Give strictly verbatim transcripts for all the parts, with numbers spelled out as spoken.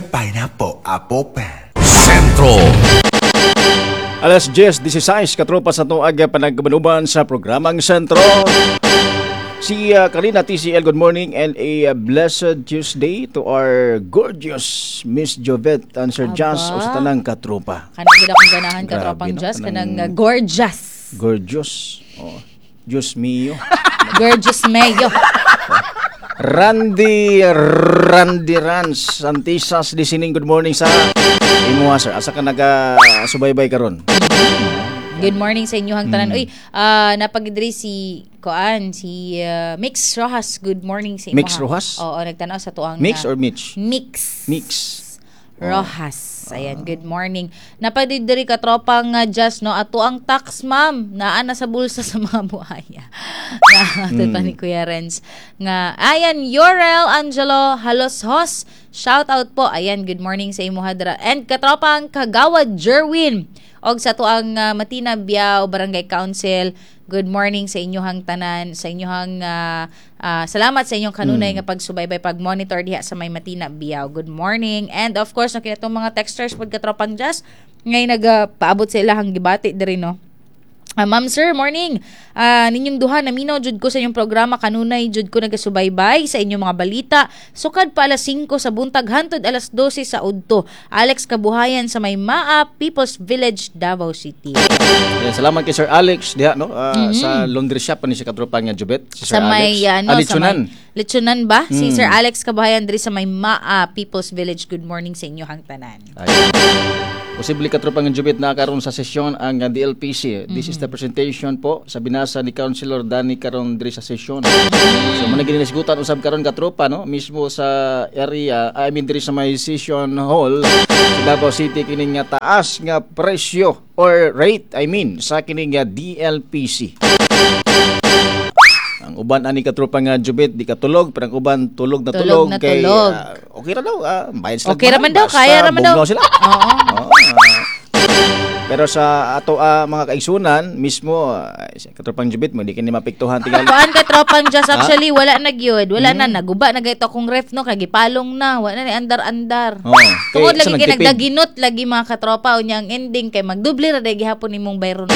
Pineapple Apple Pen. Sentro. Alas diyes disasais, katropa, sa tuag panagkabanuban sa programang Sentro. Si uh, Karina T C L, good morning and a uh, blessed Tuesday to our gorgeous Miss Jovet and Sir Jas o sa tanang katropa. Kanang gid akong ganahan, Grabe, katropang no? Jas, Kanang- kanang uh, gorgeous. Gorgeous. Oh, Diyos mio. Gorgeous mayo. Randy Randy Rans Santisas listening. Good morning sa imuha, sir. Asa ka naga subaybay karon? Good morning sa inyohang tanan. Mm. Uy, ah napagidri si kuan, si ah, Mix Rojas. Good morning sa imuha. Mix Rojas? Oo, nagtanaw sa tuang Mix na- or Mitch? Mix. Mix. Rojas. Ayan, good morning. Napadidiri ka, tropang uh, Just, no? Ato ang tax, ma'am. Naa na sa bulsa sa mga buhaya. Na, mm. pa ni Kuya Renz. Nga, ayan, Yorel Angelo Halos Hos. Shout out po. Ayan, good morning sa imo hadra. And katropang Kagawad Jerwin. Og sa tuang uh, Matina Biao Barangay Council, good morning sa inyohang tanan, sa inyohang uh, uh, salamat sa inyong kanunay nga pagsubaybay, pag-monitor diha sa may Matina Biao. Good morning. And of course, no, kinatong mga texters pod, katropang Jazz, ngay nagapaabot sa ilahang gibati diri, no. Ah, ma'am, sir, morning. Ah, ninyong duha, naminaw jud ko sa inyong programa. Kanunay jud ko nagasubaybay sa inyong mga balita. Sukad pa alas singko sa buntag hantod alas dose sa udto. Alex Kabuhayan sa may Maa People's Village, Davao City. Ayan, salamat kay Sir Alex diha, no, Ah, sa laundry shop pa ni siya, katropa nga Jubet. Si Sir Sa may Alex. ano, Ah, sa Litsunan. may Litsunan ba? Si Sir Alex Kabuhayan diri sa may Maa People's Village. Good morning sa inyo hang tanan. Ayan. Posible, katropa nga Jubit, na karon sa sesyon ang uh, D L P C. This is the presentation po sa binasa ni Councilor Danny karon diri sa sesyon. So mo ginisgutan usab karon, katropa, no, mismo sa area, I mean, diri sa may session hall sa Davao City kining nga taas nga presyo or rate, I mean, sa kining nga D L P C. Ang uban ani, katropa nga Jubit, di katulog, pero ang uban tulog na tulog, Tulog na kay tulog. ah, okay ra daw, ah, bayad sila. Okay ra man daw, basta kaya ra man daw. bugnaw sila. Oo. Oo, ah. Pero sa ato ah, mga kaigsunan mismo, uh, katropang Jubit mo di kini mapiktuhan tingali. Kuan ka, tropang Jazz, actually wala na gyud. Wala Hmm. na, naguba na gayto akong ref, no, kay gipalong na, wala na ni andar-andar. Oo. Kay, Tungod sa lagi kay nagtipid. nagdaginot lagi mga katropa, unya ang ending kay magdoble ra day gihapon nimong bayron.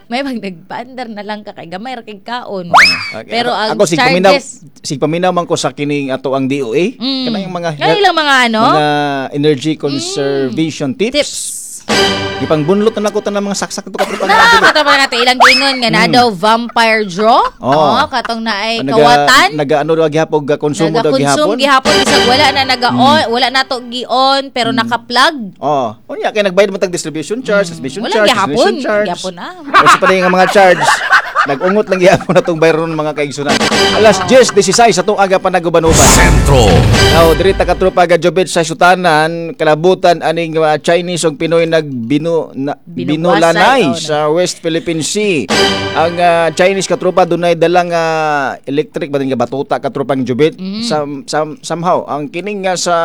May pag nagpaandar na lang ka kay gamay ra kay kaon. Okay. Pero ang ako sig paminaw, charges sig paminaw man ko sa kining ato ang D O A Mm. kanang yung mga Nga ilang mga ano? mga energy conservation tips. Tips. Ipangbunlot na nako tanang mga saksak to, katropa nga Na, Jubit. katropa nga ilang giingon nga na daw vampire draw. Mm. Oo. Oh, katong naay Naga- kawatan. Naga ano daw gihapon, ga konsumo daw Nagakonsume gihapon. gihapon bisag wala na naga-on, wala na to gi-on pero naka-plug. Oh, unya kay nagbayad man tag distribution charge, distribution Mm. Wala charge, gihapon. distribution charge. Gihapon na. O sa pa nga mga charge. Nag-ungot lang gihapon na tong bayron, mga kaigsunan. Alas diyes disasais sa itong aga panagubanuban. Sentro. Now, diri ta, katropa ga Jobet, sa sutanan, kalabutan aning uh, Chinese ug Pinoy nagbinu na, Binukwasay, binulanay oh, sa West Philippine Sea. Ang uh, Chinese, katropa, dunay dalang uh, electric ba din nga batuta, katropang Jobet. Mm-hmm. Sam, sam, somehow ang kining nga sa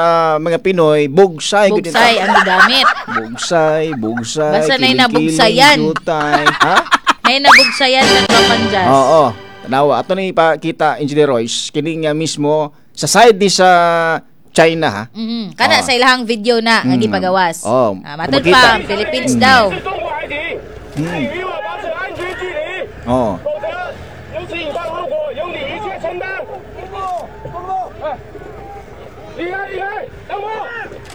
mga Pinoy, bugsay gud Bugsay ang gigamit. Bugsay, bugsay, Basta na'y kiling-kiling, nabugsayan. jutay. Ha? Nay nabugsayan na, tropang Jazz. Oo. Tanawa. Ato ni ipakita, Engineer Royce, kini nga mismo sa side ni sa China, ha. Mhm. Kana Ah. sa ilahang video na nga Mm. gipagawas. Oh, Ah, matud makita. pa Philippines daw. 中国海警，请与我保持安全距离， Oo. 否则由此引发后果由你一切承担。哎，离开，离开，等我，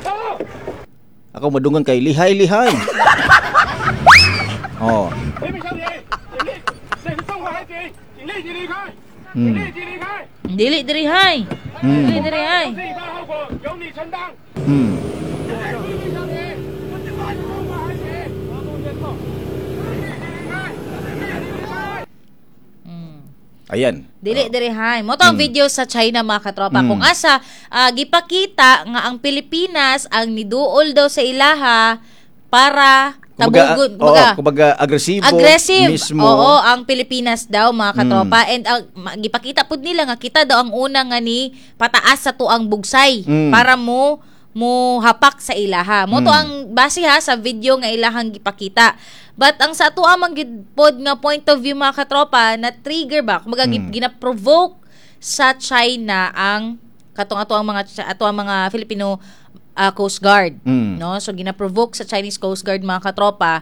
走。 Ako madungan kay lihay lihay. Oh. 人民小姐，请立，这是中国海警，请立即离开，请立即离开。 Dili diri hay. Dili diri hay. 由此引发后果由你承担。 Hmm. 人民小姐，中国海警，立即离开，立即离开。 Ayan. Dili diri hay. Mo to ang video sa China, mga katropa. Mm. Kung asa ah, gipakita nga ang Pilipinas ang niduol daw sa ilaha para Kumbaga, tabugon, oo, kumbaga, kumbaga agresibo aggressive. mismo. Oo, ang Pilipinas daw, mga katropa. And ang ma- gipakita pud nila nga kita daw ang una nga ni pataas sa tuang bugsay Mm. para mo mo hapak sa ilaha. Mo to Mm. ang base ha sa video nga ilahang gipakita. But ang sa ato amang gid pod nga point of view, mga katropa, na trigger ba? Kumbaga Mm. mm. gina-provoke sa China ang Katong ato ang mga ato ang mga Filipino ah, Coast Guard, Mm. no? So gina-provoke sa Chinese Coast Guard, mga katropa.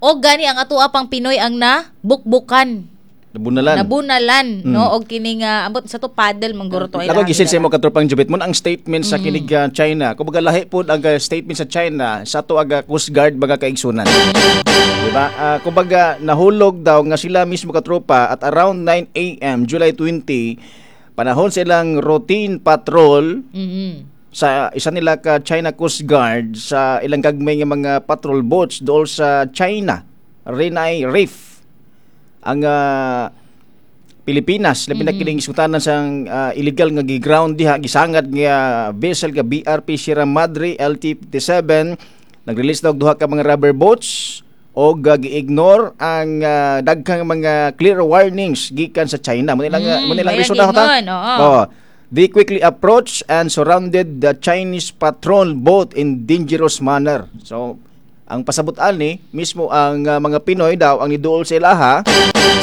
O gani ang ato pang Pinoy ang na bukbukan, Nabunalan. Nabunalan, no? Og kini nga ambot sa to, paddle mangguro to. Ako gisin sa imo, katropang Jubit mo ang statement sa kinig uh, China. Kumbaga lahi pod ang uh, statement sa China sa ato aga Coast Guard, mga kaigsunan. Di ba? Ah, kumbaga nahulog daw nga sila mismo, katropa, at around nine A M. July twenty, panahon silang routine patrol Mhm. sa isa nila ka China Coast Guard sa ilang gagmay nga mga patrol boats dool sa China Renai Reef. Ang ah, Pilipinas, labi na kining isgutanan sang ah, illegal nga gi-ground diha, gisangad nga vessel nga B R P Sierra Madre L T fifty-seven, nag-release daw og duha ka mga rubber boats og uh, gi-ignore ang ah, daghang mga clear warnings gikan sa China. Mo nilang Mm, mo nilang mayang reason na ta. ingon, oo. Oh. They quickly approached and surrounded the Chinese patrol boat in dangerous manner. So, ang pasabot ani, mismo ang uh, mga Pinoy daw ang niduol sa ilaha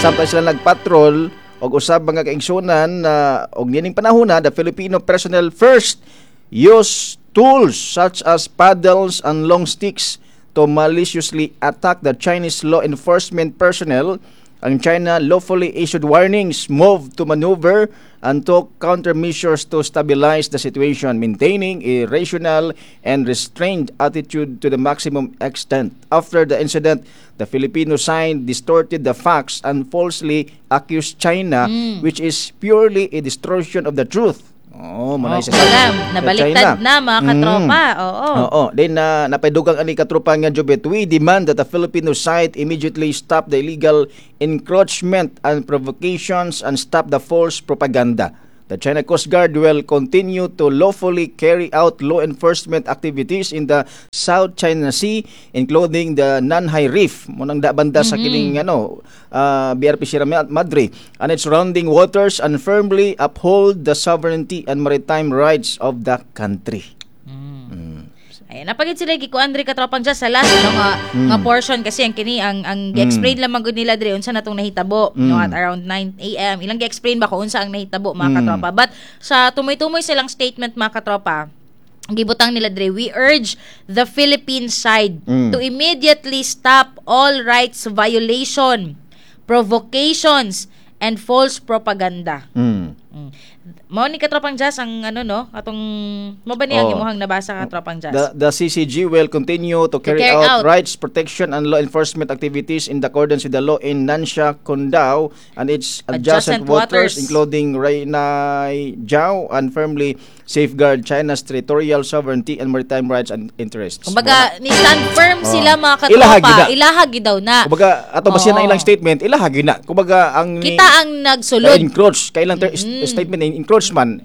samtang sila nagpatrol og usab, mga kaigsunan, na og niining panahona, the Filipino personnel first use tools such as paddles and long sticks to maliciously attack the Chinese law enforcement personnel. Ang China lawfully issued warnings, moved to maneuver, and took countermeasures to stabilize the situation, maintaining a rational and restrained attitude to the maximum extent. After the incident, the Filipino side distorted the facts and falsely accused China, which is purely a distortion of the truth. Oh, Oh, mo na isa kumbaga, sa nabaliktad China. na, mga katropa. Mm. Oo. Oo. Then na napaidugang ani, katropa nga Jobet, "We demand that the Filipino side immediately stop the illegal encroachment and provocations and stop the false propaganda. The China Coast Guard will continue to lawfully carry out law enforcement activities in the South China Sea, including the Nanhai Reef," mo nang banda sa kining ano uh, B R P Sierra Madre, "and its surrounding waters and firmly uphold the sovereignty and maritime rights of the country." Ayan, napagid sila gikuan diri, katropang Jazz, sa last, no, nga, Mm. nga portion kasi ang kini ang ang gi-explain lamang gud nila diri unsa natong nahitabo, no, Mm. at around nine A M ilang gi-explain ba kung unsa ang nahitabo, mga Mm. katropa. But sa tumoy-tumoy silang statement, mga katropa, gibutang nila diri, "We urge the Philippine side Mm. to immediately stop all rights violation, provocations and false propaganda." Mm. Mm. Mao ni, katropang Jazz, ang ano, no, atong mo ba niya ang Oh. imuhang nabasa, katropang Jazz? The, the C C G will continue to carry carry out, out rights protection and law enforcement activities in accordance with the law in Nansha Qundao and its adjacent adjacent waters, waters, including Reinai Jiao, and firmly safeguard China's territorial sovereignty and maritime rights and interests. Kumbaga, ni stand firm Oh. sila, mga katropa. Ilaha gyud na. Ilaha gyud daw na. Kumbaga, ato ba siya na Oo. ilang statement, ilaha gyud na. Kumbaga, ang Kita ang nagsulod. Encroach, kailang ter- statement in encroachment,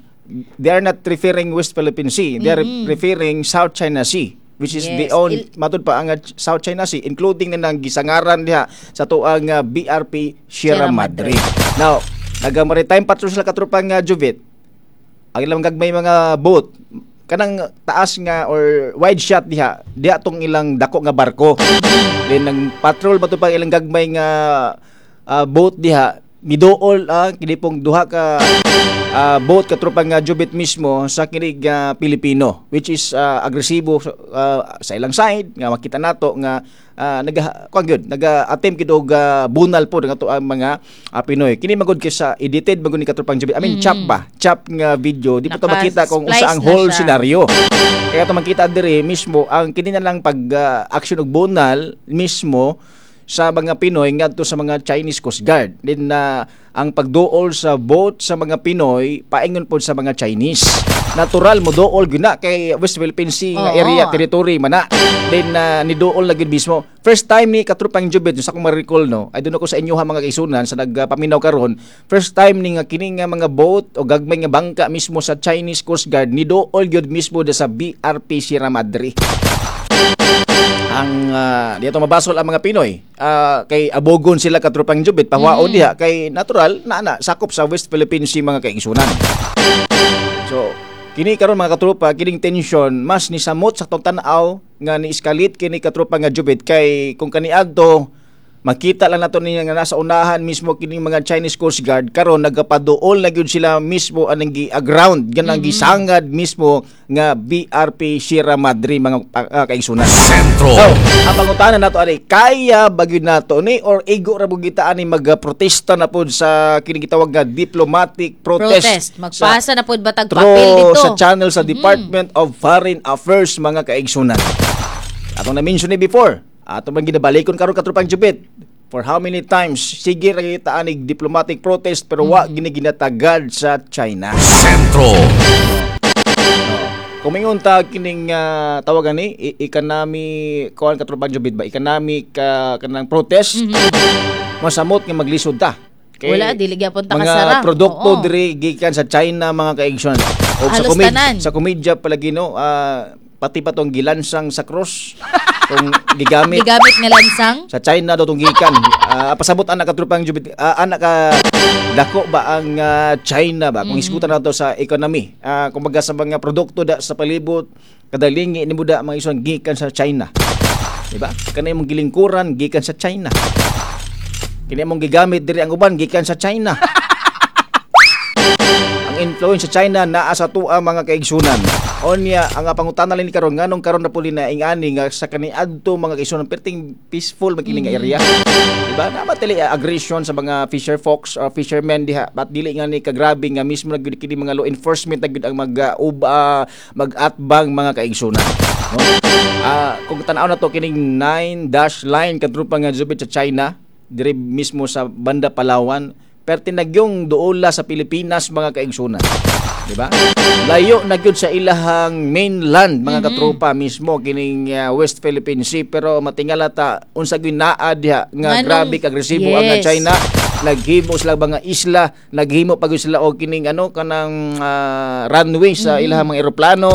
they are not referring West Philippine Sea, they are referring South China Sea, which is Yes. the own Il- matud pa ang uh, South China Sea, including na nang gisangaran diha sa tuang uh, B R P Sierra Sierra Madre. Madre. Now, naga maritime patrol sila, katropang uh, Juvit. Ang ilang gagmay mga boat kanang taas nga or wide shot diha diha tong ilang dako nga barko. Then nang patrol ba to pang ilang gagmay nga ah, boat diha, miduol ang kini pong duha ka ah, boat, katropang nga Jubit, mismo sa kinig ah, Pilipino, which is ah, agresibo ah, sa ilang side nga makita nato nga uh, naga kuan gyud, naga-attempt gyud og ah, bunal po nga ang mga ah, Pinoy. Kini magud kay sa edited magud ni, katropang Jubit, I mean, chop ba, chop nga video, di po to makita kung unsa ang Naka-splice na whole siya. scenario. Kaya to makita diri mismo ang kini na lang pag ah, action og bunal mismo sa mga Pinoy ngadto sa mga Chinese Coast Guard. Then na ang pagduol sa boat sa mga Pinoy paingon pod sa mga Chinese. Natural mo duol gyud na kay West Philippine Sea nga Oo. area, territory man na. Then na niduol na gyud mismo. First time ni, katropang Jubet, sa akong ma-recall, no. I don't know kung sa inyo ha, mga kaigsunan sa nagpaminaw karon. First time ni nga kini nga mga boat o gagmay nga bangka mismo sa Chinese Coast Guard niduol gyud mismo da sa B R P Sierra Madre. Ang uh, dito mabasol ang mga Pinoy. Ah, kay abogon sila, katropang Jubit, pahuwaon diha kay natural na na sakop sa West Philippine Sea, mga kaigsunan. So, kini karon, mga katropa, kining tension mas nisamot sa tong tan-aw nga ni-escalate kini, katropa nga Jubit, kay kung kaniadto Makita lang nato niya nga nasa unahan mismo kining mga Chinese Coast Guard karon nagapaduol na gyud sila mismo anang gi-aground, ganang mm-hmm. gisangad mismo nga B R P Sierra Madre, mga uh, kaigsunan. Sentro. So, ang pangutana nato ani, kaya ba gyud nato ni or igo ra gyud kita ani magprotesta na pod sa kining gitawag nga diplomatic protest? Protest. Magpasa na pod batag Through papel dito. Sa channel sa Department of Foreign Affairs, mga kaigsunan. Atong na-mention ni before, ato man ginabalikon karon, katropang jubit. For how many times sige ra kita anig diplomatic protest pero wa gini ginatagad sa China. Sentro. Kung mingon ta kining uh, tawagan ni i- economy kuan, katropang jubit ba, economic uh, kanang protest, masamot nga maglisod ta. Kay Wala, dili gyapon ta mga kasara. produkto Oo. diri gikan sa China, mga kaigsoon. O sa Halos komedya, tanan. Sa komedya palagi no, ah, pati pa tong gilansang sa cross kung gigamit Gigamit nga lansang. sa China daw tong gikan. Ah, pasabot anak katropang jubit, ah, anak ka dako ba ang ah, China ba kung isgutan nato sa economy. Ah, kumbaga sa mga produkto da sa palibot, kadalingi ni da mga ison gikan sa China. Di ba? Kanay mong gilingkuran gikan sa China. Kini mong gigamit diri ang uban gikan sa China. Ang influence sa China naa sa tua, mga kaigsunan. Onya ang pangutana ni karon, nganong karon na puli na ingani nga sa kaniadto, mga kaigsunan, perting peaceful makining nga area. Diba? Naa tili aggression sa mga fisher folks or fishermen diha, but dili nga ni kagrabe nga mismo na gyud kini mga law enforcement na gyud ang mag uh, uba, mag-atbang, mga kaigsunan. No? Ah, kung tan-aw na to kining nine dash line, katrupa nga jubit, sa China dire mismo sa banda Palawan, perti nagyong duola sa Pilipinas, mga kaigsunan. Di ba? Layo na gyud sa ilahang mainland, mga katropa, mismo kining uh, West Philippine Sea, pero matingala ta unsa gyud naa diha nga Nganong- grabe ka agresibo ang Yes. China. Naghimo sila mga isla, naghimo pa gyud sila og kining ano kanang ah, runway sa ilahang mga eroplano.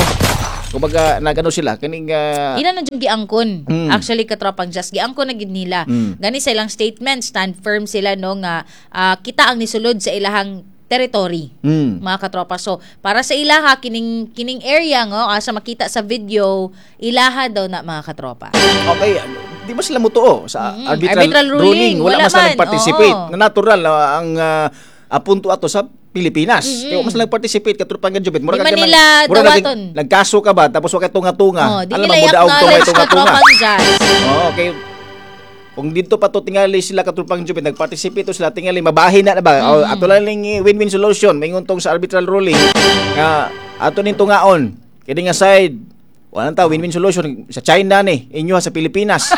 Kumbaga nagano sila kining ah, Ila na jud giangkon. Mm. Actually, katropang just giangkon na gid nila. Mm. Gani sa ilang statement, stand firm sila no nga ah, kita ang nisulod sa ilahang territory. mm, Mga katropa. So, para sa ilaha kining kining area nga asa makita sa video, ilaha daw na, mga katropa. Okay, di ba sila mutuo sa Mm, arbitral, arbitral ruling? ruling? Wala, Wala man sila man, nag-participate. oo. Na natural na ang uh, apunto ato sa Pilipinas. Kaya mas nag-participate katropang jubit. Di man nila mura nag- dawaton. nagkaso ka ba tapos wa kay tunga-tunga. Oh, di Alam nila mo daog tungay i-acknowledge, tunga-tunga. katropang Jazz. Oo, okay. Kung dito pa to tingali sila, katropang jubit, nag-participate to sila tingali mabahin na, na ba? Mm. Ato lang ning win-win solution maingon tong sa arbitral ruling nga ato ning tungaon. Kini nga side wala ta win-win solution sa China ni inyo sa Pilipinas.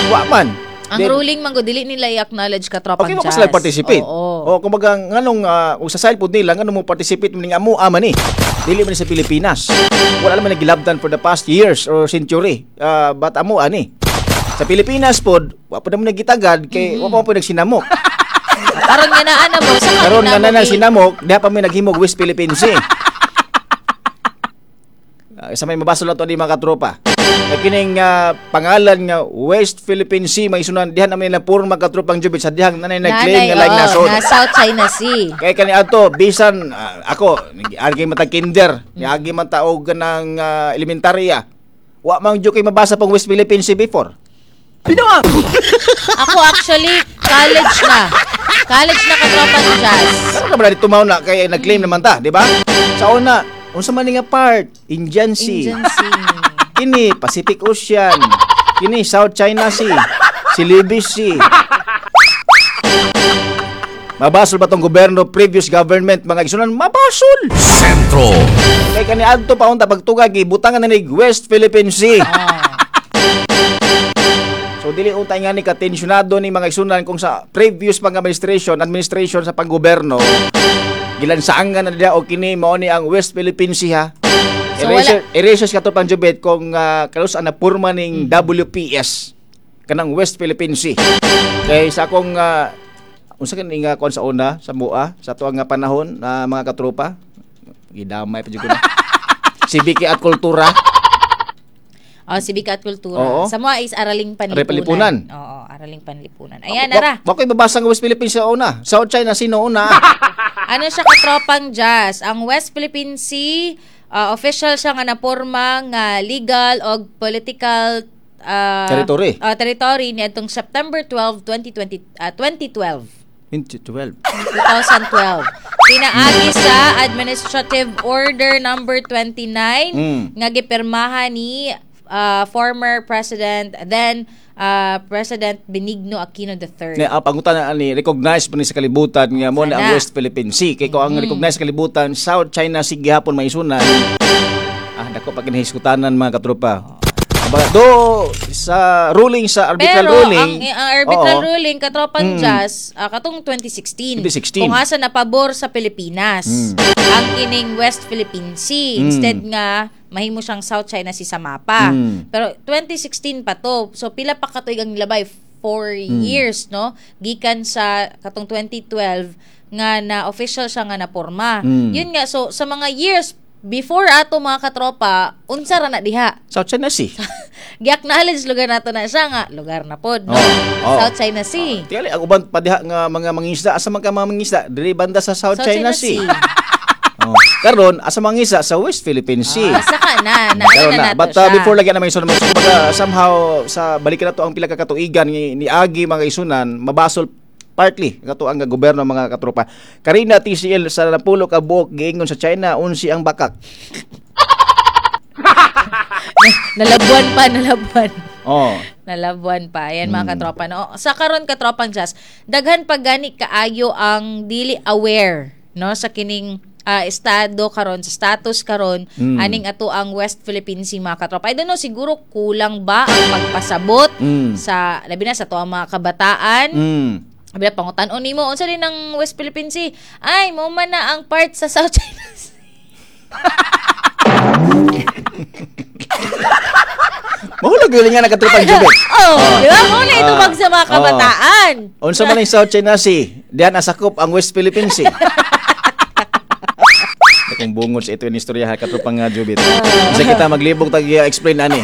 Wa man. Ang Then, ruling man gud dili nila i-acknowledge, katropang Okay mo Jazz. sila participate. Oo. O kumbaga nganong uh, kung sa side pod nila, nganong mo participate man ning amo man ni. Dili man ni sa Pilipinas. Wala naman nagilabdan for the past years or century. Uh, but amo ani. Sa Pilipinas pod, wa pa naman nagitagad kay mm-hmm. wa pa po nagsinamok. Karon nga naa na mo sa Karon nga na sinamok, diha pa may naghimog West Philippine Sea. Uh, sa may mabasa lang to ni mga katropa. Kay kining ah, pangalan nga West Philippine Sea may sunan diha naman nila puro mga katropang jubit sa dihang nanay nag-claim nga laing nasod. Na South China Sea. Kay kani ato bisan ah, ako agi man ta kinder, agi man ta og ng ah, elementarya. Wa man jud kay mabasa pong West Philippine Sea before. Ako actually, college na. College na, katropang Jazz. Karon na ba dito na kay nag-claim naman ta, di ba? Sa una, unsa man ni nga part? Indian Sea. Indian Sea. Kini Pacific Ocean. Kini South China Sea. Celebes Sea. Mabasol ba tong gobyerno, previous government, mga isunan? Mabasol! Sentro. Kay kani adto pa unta pagtugag gibutangan na ni West Philippine Sea. Oh. So dili untay nga ni katensyonado ni mga isunan kung sa previous pang administration, administration sa panggoberno gilansaangan na nila o kini mao ni ang West Philippine Sea ha. So, Eraser, erasers kato panjubet kung uh, kalus na purma ning W P S kanang West Philippine Sea. Kay sa akong uh, unsa kani nga kuan sa una sa mua sa tuang nga panahon na mga katropa gidamay pa jud ko na. Sibiki at kultura. Oh, Sibika at Kultura. Oo. Sa mga is Araling Panlipunan. Araling Panlipunan. Oo, Araling Panlipunan. Ayan, ara. Wa ko'y mabasa nga West Philippine sa una. South China Sea no una. Ano siya, katropang Jazz? Ang West Philippine Sea, uh, official siya nga naporma nga legal o political ah, Territory. ah, territory niadtong September twelve, twenty twenty, ah, twenty twelve. twenty twelve. twenty twelve. Pinaagi sa Administrative Order number twenty-nine Mm. nga gipirmahan ni ah, former President then ah, President Benigno Aquino the Third. Ne, ang pangutan na ani, recognize pa ni sa kalibutan nga mo na ang Sana. West Philippine Sea. Kay kung ang recognize sa kalibutan South China Sea gihapon maisunan. Ah, dako pa kinahiskutanan, mga katropa. Aba, do sa ruling, sa arbitral Pero ruling. ang, ang arbitral oo, ruling, katropang Mm. Jazz, ah, katong twenty sixteen. twenty sixteen. Kung asa napabor sa Pilipinas Mm. ang kining West Philippine Sea Mm. instead nga mahimo siyang South China Sea sa mapa. Mm. Pero twenty sixteen pa to. So pila pa katuig ang nilabay? Four Mm. years, no? Gikan sa katong twenty twelve nga na official siya nga naporma. Mm. Yun nga, so sa mga years before ato, mga katropa, unsa ra na diha? South China Sea. Gi-acknowledge lugar nato na siya nga lugar na pod, no? Oo. Oo. South China Sea. Tingali ang uban pa diha nga mga mangisda, asa man ka mga mangisda? Diri banda sa South China Sea. Oh. Karon asa mangisda? Sa West Philippine Sea. Ah, saka na na, Karon na, na. nato But uh, siya. before lagi na may isunan, so, kumbaga, somehow sa balikan na to ang pila ka katuigan ni, ni agi, mga isunan, mabasol partly kato ang gobyerno, mga katropa. Karina T C L sa napulo ka buok giingon sa China unsi ang bakak. Nalabuan pa, nalabuan. Oh. Nalabuan pa. Ayan, mga Mm. katropa. No? Sa karon, katropang Jazz, daghan pa gani kaayo ang dili aware, no, sa kining ah, estado karon, sa status karon Mm. aning ato ang West Philippine Sea, mga katropa. I don't know, siguro kulang ba ang pagpasabot Mm. sa labi na sa ato ang mga kabataan. Mm. Abi na pangutan-on nimo, unsa din ang West Philippine Sea? Ay, mo man na ang part sa South China Sea. Mahulog yun nga nakatropang Jubet. Oh, di ba? Mo na itubag sa mga Ah. kabataan. Unsa man ang South China Sea? Diyan asakop ang West Philippine Sea. Akong bungod sa ito yung istorya, katropang nga Jubit. Kasi kita maglibog tag explain ani.